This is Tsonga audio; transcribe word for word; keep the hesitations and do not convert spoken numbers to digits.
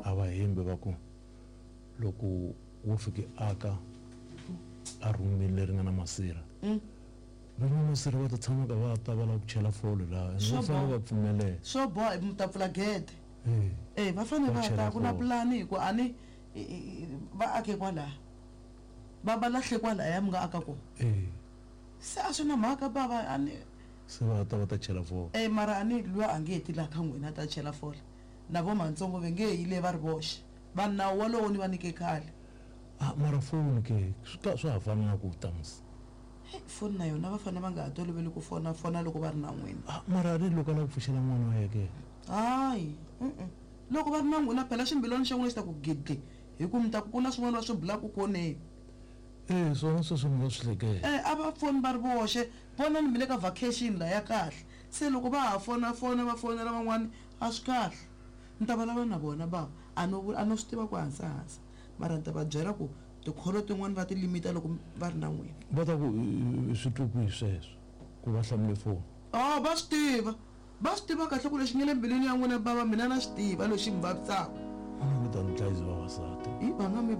A va hembi va ku loko wo fike aka a rhumini leri nga na masirha, Mm. va nga masirha va ta tshama ka va ta va lava ku chela fole laha, ene Swo va fanele boha. va pfumelela. Swo boha mi ta pfula gede. Eh. E va fanele Va va ta chela ku na fole. pulani hi ku a ni i- i- i- va ake kwalaya, va va lahle kwalaya mi nga aka kona. Eh. Se a swi na mhaka bava, a ni Se va ta va ta chela fole. E mara a ni luya a nge ti laha ka n'wina a ta chela fole, na vo mantsongo ve nge yi le va ri voxe, va nawu walowo ni va nyike khale. Ah, mara foni ke swi ka swa ha fana na ku ta musi. Hey, foni na yona va fanele va nga ha toloveli ku fona fona loko va ri na n'wina. Ah, mara a ni loko a lava ku pfuxela n'wana wa yena ke? Hayi, mm-mm. Loko va ri na n'wina phela ximbilwana xa n'wina xi ta ku gidi, hi ku mi ta ku ku na swin'wana va swi bulaka khoneni. Eh, swona sweswo ni nga swi hleketa. Eh, a va foni va ri voxe, vonani mi le ka vacation la ya kahle, se loko va ha fona fona va fonela van'wani a swi kahle. Ni ta vulavula na vona bava, a no a no swi tiva ku hansi hansi, mara ni ta va byela ku tikholo tin'wani va ti limita loko va ri na n'wina. Va ta ku i swi twe kwihi sweswo ku va hlamule foni? Oh, va swi tiva, va swi tiva kahle ku lexi nga le mbilwini ya n'wina bava, mina na swi tiva lexi mi vavisaka. A ni nge ta ni dlayisi vavasati. Hi va nga mi ba.